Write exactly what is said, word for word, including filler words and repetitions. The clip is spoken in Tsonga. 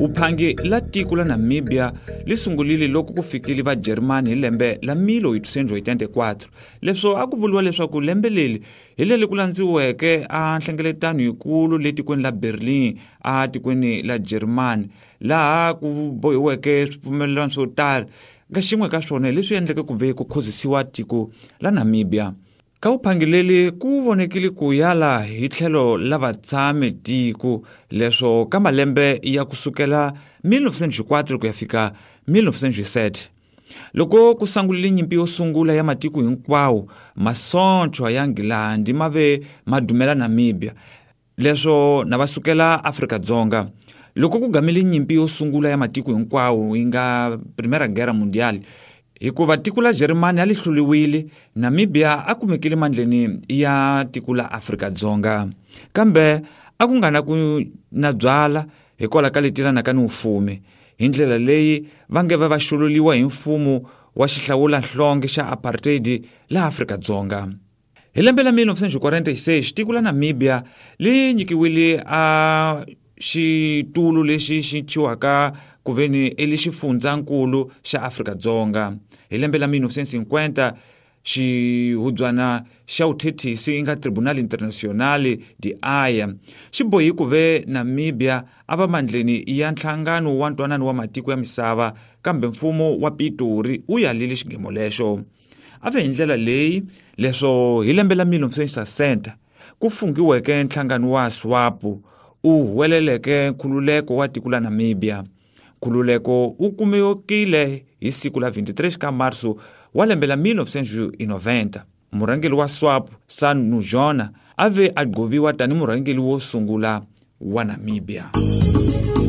Wuphangi la tiko la Namibia li sungulile loko ku fikile va Germany hi lembe la mille huit cent quatre-vingt-quatorze. Leswo a ku vuriwa leswaku lembe leri hi leri ku landziweke a nhlengeletano yikulu le tikweni la Berlin a tikweni la Germany, laha ku bohiweke swipfumelelano swo tala. Ka xin'we ka swona hi leswi endleke ku ve ku khozisiwa tiko la Namibia. Ka vuphangi leri ku vonekile ku yala hi tlhelo la vatshami tiko, leswo ka malembe ya kusukela mille neuf cent quatre ku ya fika mille neuf cent sept. Loko ku sungulile nyimpi yo sungula ya matiko hinkwawo, masocha ya Nghilandhi ma ve ma dumela Namibia, leswo na va sukela Afrika-Dzonga. Loko ku gamile nyimpi yo sungula ya matiko hinkwawo yi nga Primera Guerra Mundial, hikuva tiko la Germany a li hluliwile, Namibia a kumekile mandleni ya tiko la Afrika-Dzonga. Kambe a ku nga na ku na byala hikwalaho ka leti ka ni mfumo. Hi ndlela leyi va nge va va xululiwa hi mfumo wa xihlawulanhlonge xa apartheid la Afrika-Dzonga. Hi lembe la mille neuf cent quarante-six, tiko la Namibia li nyikiwile a xitulu lexi xi thyiwaka ku ve ni i xifundzankulu xa Afrika-Dzonga. Hi lembe la mille neuf cent cinquante, xihubyana xa vuthethisi yi nga Tribunal International de Haia xi bohi ku ve Namibia a va mandleni ya nhlangano wa ntwanano wa matiko ya misava, kambe mfumo wa Pitori wu yalile xigemo lexo. A ve hi ndlela leyi leswo hi lembe la mille neuf cent sessanta ku fungiweke nhlangano wa SWAPO u huweleleke nkhululeko wa tiko la Namibia. Nkhululeko wu kumekile hi siku la vingt-et-un ka marso wa lembe la mille neuf cent noventa. Murhangeri wa SWAPO Sam Nujoma a ve a gqoviwa tani murhangeri wo sungula wa Namibia.